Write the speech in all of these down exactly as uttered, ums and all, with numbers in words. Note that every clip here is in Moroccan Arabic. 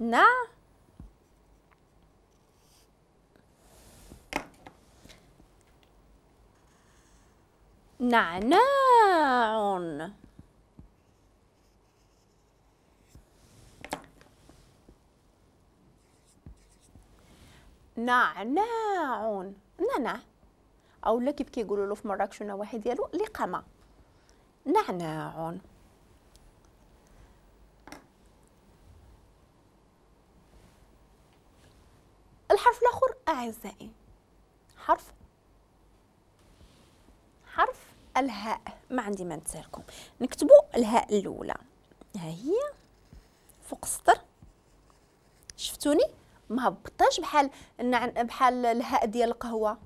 نع نعناع. نعناع، نعناع، او لا كيف كيقولوا له في مراكش النواحي ديالو لقمة، نعناع. الحرف الاخر اعزائي حرف حرف الهاء. ما عندي ما نتسالكم، نكتبوا الهاء الاولى، ها هي فوق السطر. شفتوني ما هبطاش بحال بحال الهاء ديال القهوة.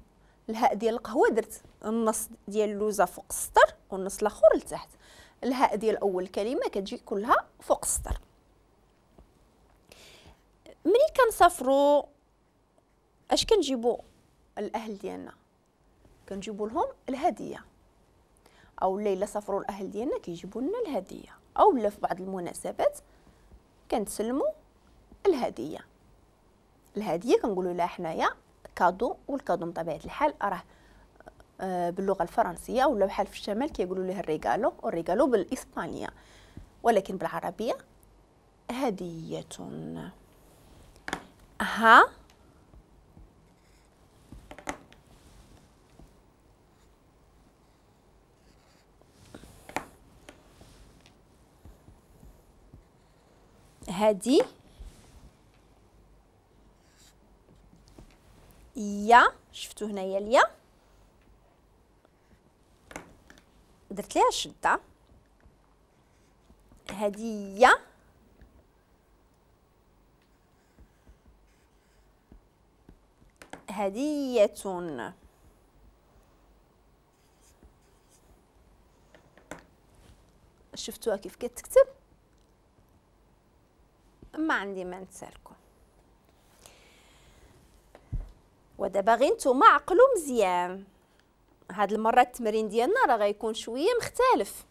الهاء ديال القهوة درت النص ديال اللوزه فوق السطر والنص الاخر لتحت. الهاء ديال اول كلمة كتجي كلها فوق السطر. ملي كنسافروا اش كنجيبوا الاهل ديالنا؟ كنجيبوا لهم الهدية، او الا سافروا الاهل ديالنا كيجيبوا لنا الهدية، او لا في بعض المناسبات كنتسلموا الهدية. الهدية كنقولوا لها حنايا cadeau، وال cadeau بطبيعة الحال راه باللغة الفرنسية، ولا بحال في الشمال كيقولوا لها ال regalo، وال regalo بالاسبانيه، ولكن بالعربية هديه. ها هدي يا، شفتو هنايا اليا درت ليها الشدة، هديه هديه. شفتوها كيف كتكتب؟ ما عندي ما نتسالكم. ودابا غير نتوما عقلوا مزيان، هاد المرة التمرين ديالنا راه غيكون شوية مختلف.